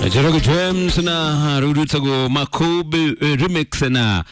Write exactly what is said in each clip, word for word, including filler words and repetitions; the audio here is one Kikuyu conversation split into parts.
Njoroge James na rurutagwo Makubi remix na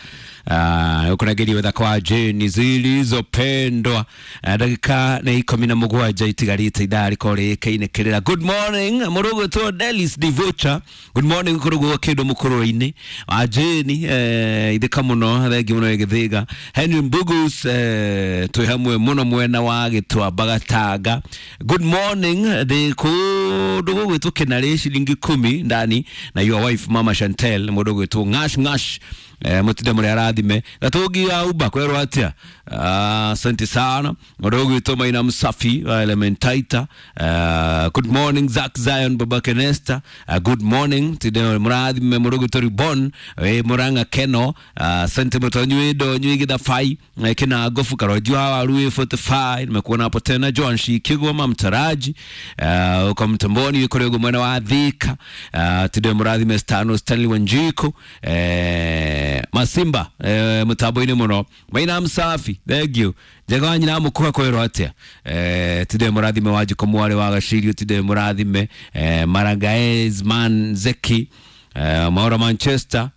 uh, ukunageria wethako wa Jane zilizopendwa. Uh, ndagika nä ikå na mũgwanja itigarĩte ithaa rĩkorwo rĩkĩinĩkĩrĩra. Good morning mũrũgwĩtwo Delis Divocha, good morning kũrũgwo kĩndũ mũkũrũ-inĩ wa Jane, eh, ithĩka mũno thengi mũno ĩgĩthĩga Henry Mbugus, eh, twĩ hamwe mũno mwena wa Gĩtuamba Gatanga. Good morning ndĩ kũndũ gũgwĩtwo Kĩnarĩ ciringi ikũmi ndani na your wife Mama Chantel mũndũ ũgwĩtwo Ngash Ngash, eh, mũtinde mũrĩa arathime gatũngi ya uba kwerwo atia. Asante sana mũndũ ũgwĩtwo Maina Msafi wa Elementaita. Uh, good morning Zack Zion Baba Kenesta. Uh, good morning tinde mũrathime mũndũ ũgwĩtwo Ribon wĩ Mũrang'a Keno. Asante uh, mũtonyi wĩ ndonyi gĩthabai kina ngofu karoji wa waru wĩ forty-five nimekuona hapo tena Joan Shikigwa mtaraji uh, uko mtamboni yuko rĩu mwena wa Thika. Uh, tinde mũrathime Stano Stanley Wanjiko, eh, Masimba eh, mutambo-inĩ mũno Maina Msafi, thank you njega wa nyina mũkuha kwĩrwo atĩa. Eh, tinde mũrathime Wanjikũ mwarĩ wa Gacirio, tinde mũrathime eh, Maragaez man Zeki, eh, Maura Manchester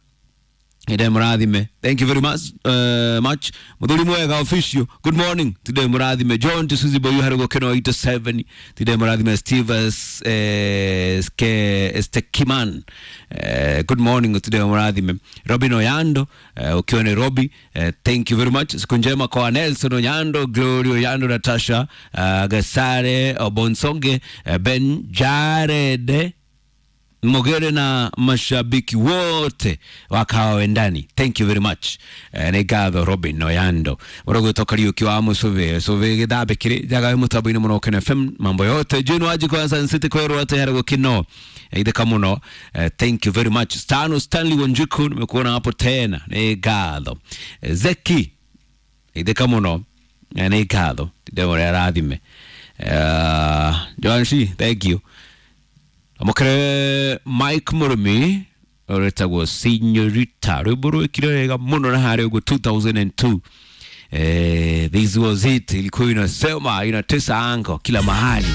ide mũrathime, thank you very much, uh, much muthuri mwega official, good morning tinde mũrathime John Tusuzi Boyu harĩ gũkeno eighty-seven tinde mũrathime Steve eh, Ske Stekiman, eh, good morning tinde mũrathime Robin Oyando, eh, ukiwa Nairobi, eh, thank you very much. Siku njema kwa Nelson Oyando, Glory Oyando, Natasha uh, Gasare Obonsonge, eh, Ben Jared Mogere na mashabiki wote wakawa wendani, thank you very much. Eh, nĩ ngatho Robin Oyando ũrogwĩtwo Kariũki wa Mũcũvĩ Cũvĩ gĩthambe kĩrĩ njagawe mũtambo-inĩ mũno Keno F M mambo yote June Wanjikũ wa Sun City kwerwo atĩ harĩ gũkino ithĩka mũno. Eh, thank you very much Stano Stanley Wanjiku, nimekuona hapo tena, nĩ ngatho. Zeki ithĩka mũno, nĩ ngatho ndĩmũrĩa arathime. Uh, Joanshi, thank you. Amũkĩre Mike Mũrũmi ũretagwo Signorita rwĩmbo rwĩkire wega mũno na harĩa ũguo two thousand two. Eh, this was it, ilikuwa inasema inatesa ango kila mahali.